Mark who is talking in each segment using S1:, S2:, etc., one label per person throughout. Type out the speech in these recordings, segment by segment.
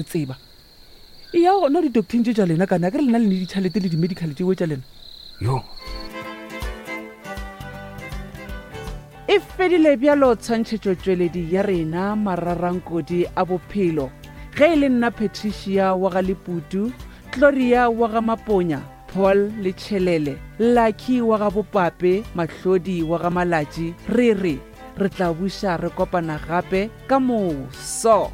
S1: Tseba. Eya gona di-docteng tše tša lena kana akere lena le ne ditšhalete le di-medical tšewe tša lena.
S2: Yo.
S1: E fedile bjalo tshwantšhetšotšweledi ya rena Mararankodi a Bophelo. Ge e le nna Patricia wa ga Leputu, Gloria wa ga Maponya, Paul le Tšhelele, Lucky wa ga Bopape, Mahlodi wa ga Malatši, re re re tla buša re kopana gape ka moso.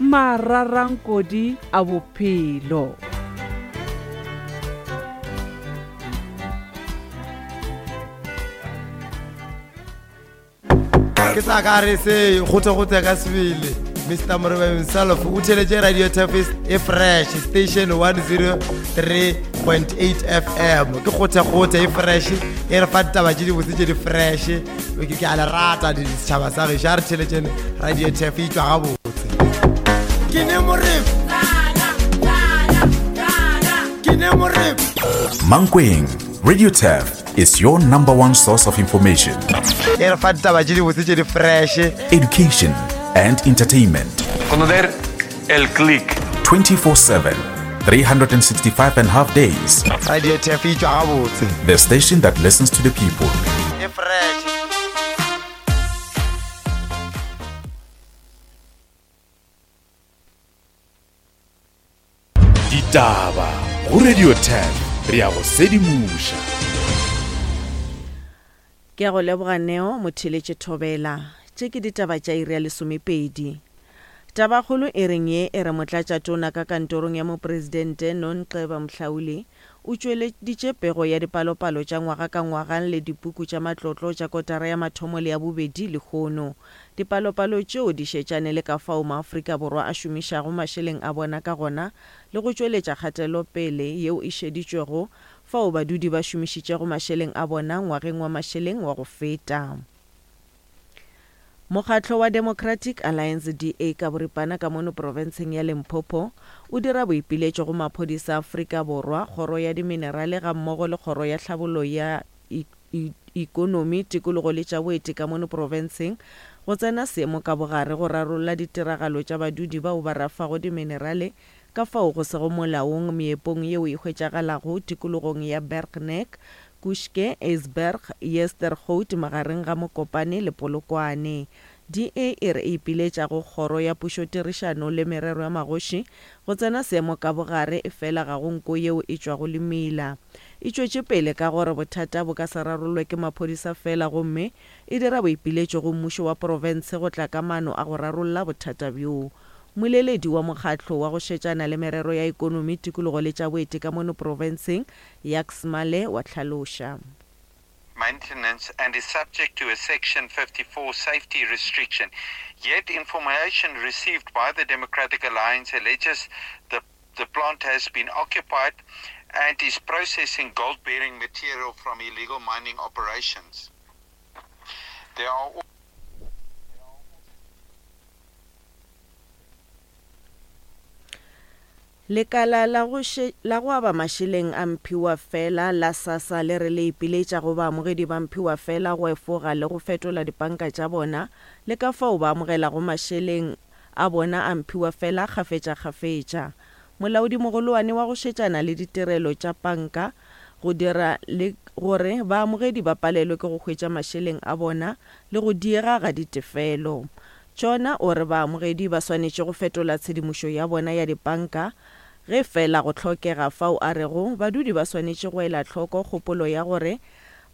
S1: Mararankodi a bophelo.
S3: Ke tla ka re se gote-gote ka sebele Mr Moreba himself o theletše Radio Tafis e fresh station 103.8 FM ke gote-gote e fresh e re fa ditaba tše dibotse tše di fresh ke a le rata setšhaba sa gešo a re theletšene radio tf e tšwa gabotse ke ne morebo ke ne morebo
S4: Mankweng, Radio Turf is your number one source of information.
S3: E re fa ditaba tše dibotse tše di fresh.
S4: Education and entertainment.
S5: Conocer el click.
S4: 24/7, 365 and half days.
S3: Radio Turf e tšwa gabotse.
S4: The station that listens to the people.
S3: E fresh.
S4: Ditaba go Radio 10 re ya go sedimoša.
S6: Ke a go leboga Neo Motheeletše Thobela. Tše ke ditaba tša iri ya lesomepedi. Tabakgolo e reng ye e re Motlatšatona ka kantorong ya Mopresidente Nonxeba Mhlauli o tšweleditše pego ya dipalopalo tša ngwaga ka ngwaga le dipuku tša matlotlo tša kotara ya mathomo le ya bobedi lehono. Dipalopalo tšeo di šetšane le ka fao maAfrika Borwa a šomišago mašeleng a bona ka gona le go tšweletša kgatelopele yeo e šeditšwego fao badudi ba šomišitšego mašeleng a bona ngwageng wa mašeleng wa go feta. Mokgatlo wa Democratic Alliance, DA, ka boripana ka mono profenseng ya Limpopo o dira boipiletšo go maphodisa a Afrika Borwa, Kgoro ya Diminerale gammogo le Kgoro ya Tlhabollo ya Ikonomi, Tikologo le tša Boeti ka mono profenseng go tsena seemo ka bogare go rarolla ditiragalo tša badudi bao ba rafago diminerale Ka fao go sego molaong meepong yeo e hwetšagalago tikologong ya Bergnek, Kushke, Ijsberg, Yestergoud magareng ga Mokopane le Polokwane. DA e re e ipiletša go Kgoro ya Pušotirišano le Merero ya Magoši go tsena seemo ka bogare efela ga go nko yeo e tšwago le mila. E tšwetše pele ka gore bothata bo ka se rarollwe ke maphodisa fela gomme e dira boipiletšo go mmušo wa profense go tla ka maano a go rarolla bothata bjoo. Mmoleledi wa mokgatlo wa go šetšana le merero ya ekonomi, tikologo le tša boeti ka mono profenseng, Jacques Male wa hlaloša.
S7: maintenance and is subject to a Section 54 safety restriction. Yet information received by the Democratic Alliance alleges the, the plant has been occupied and is processing gold-bearing material from illegal mining operations. There are
S6: Lekala la go la go aba mašeleng a mphiwafela la SASSA le re le ipiletša go baamogedi ba mphiwafela go efoga le go fetola dipanka tša bona le ka fao ba amogelago mašeleng a bona a mphiwafela kgafetšakgafetša. Molaodimogolowane wa go šetšana le ditirelo tša panka go dira le gore baamogedi ba palelwe ke go hwetša mašeleng a bona le go diega ga ditefelo. Tšona o re baamogedi ba swanetše go fetola tshedimošo ya bona ya dipanka ge feela go hlokega fao a rego badudi ba swanetše go ela hloko kgopolo ya gore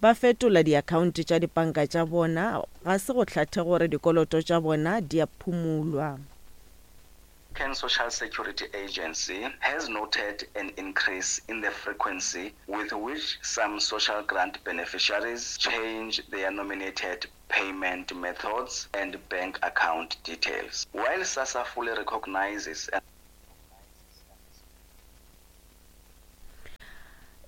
S6: ba fetola diakhaonte tša dipanka tša bona ga se go hlathe gore dikoloto tša bona di a phumulwa.
S8: Can Social Security Agency has noted an increase in the frequency with which some social grant beneficiaries change their nominated payment methods and bank account details. While SASSA fully recognizes and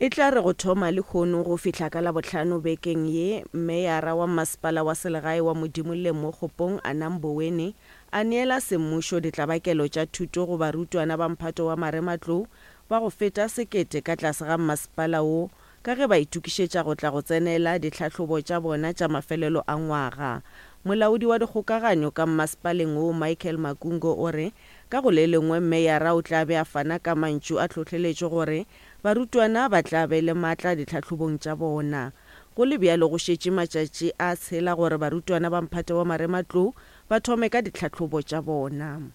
S6: E tla re go thoma lehono go fihla ka Labohlano bekeng ye, Meyara wa Mmasepala wa Selegae wa Modimolle mo Kgopong, Anna Mboweni, a neela semmušo ditlabakelo tša thuto go barutwana ba mphato wa marematlou ba go feta sekete ka tlase ga mmasepala wo ka ge ba itokišetša go tla go tsenela ditlhahlobo tša bona tša mafelelo a ngwaga. Molaodi wa dikgokaganyo ka mmasepaleng wo Michael Makungo o re. Ka go le lengwe meyara o tla be a fana ka mantšu a tlhohleletšo gore barutwana ba tla be le maatla ditlhahlobong tša bona. Go le bjalo go šetše matšatši a tshela gore barutwana ba mphato wa marematlou ba thome ka ditlhahlobo tša bona.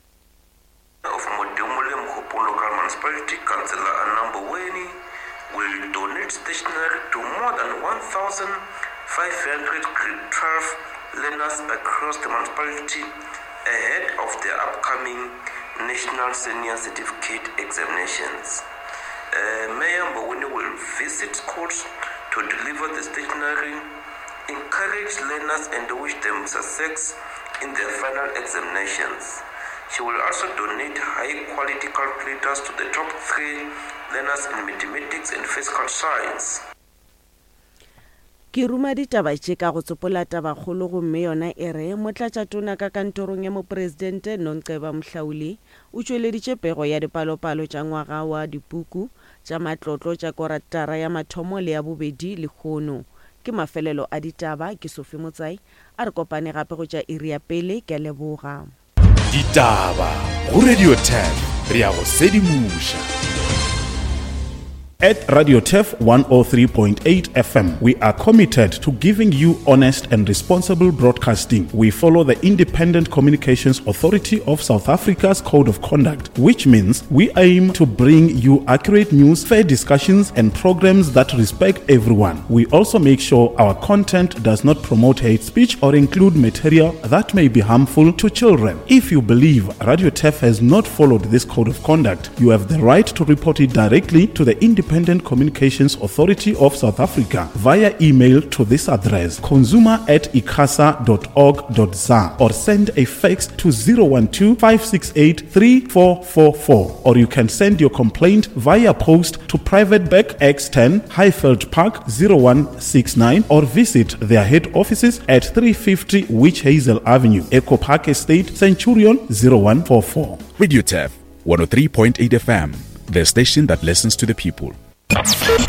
S2: Of Modimolle Mokgopo Local Municipality, Councillor Anna Mboweni, will donate stationery to more than 1,500 Grade 12 learners across the municipality ahead of the upcoming National Senior Certificate examinations. Uh, Mayor Mboweni will visit schools to deliver the stationery, encourage learners and wish them success in their final examinations. She will also donate high quality calculators to the top three learners in mathematics and physical science.
S6: Ke ruma ditaba tše ka go tsopola tabakgolo gomme yona e re, Motlatšatona ka kantorong ya Mopresidente Nonceba Mhlauli o tšweleditše pego ya dipalopalo tša ngwaga wa dipuku tša matlotlo tša koratara ya mathomo le ya bobedi lehono. Ke mafelelo a ditaba, ke Sophie Motsai, a re kopane gape go tša iri ya pele, ke a leboga.
S4: Ditaba go Radio 10 re ya go sedimoša.
S9: At Radio Turf 103.8 FM, we are committed to giving you honest and responsible broadcasting. We follow the Independent Communications Authority of South Africa's Code of Conduct, which means we aim to bring you accurate news, fair discussions, and programs that respect everyone. We also make sure our content does not promote hate speech or include material that may be harmful to children. If you believe Radio Turf has not followed this code of conduct, you have the right to report it directly to the Independent Communications Authority of South Africa via email to this address consumer at icasa.org.za or send a fax to 012 568 3444 or you can send your complaint via post to Private Bank X10 Highveld Park 0169 or visit their head offices at 350 Witch Hazel Avenue, Echo Park Estate, Centurion 0144.
S4: Radio Turf 103.8 FM, the station that listens to the people.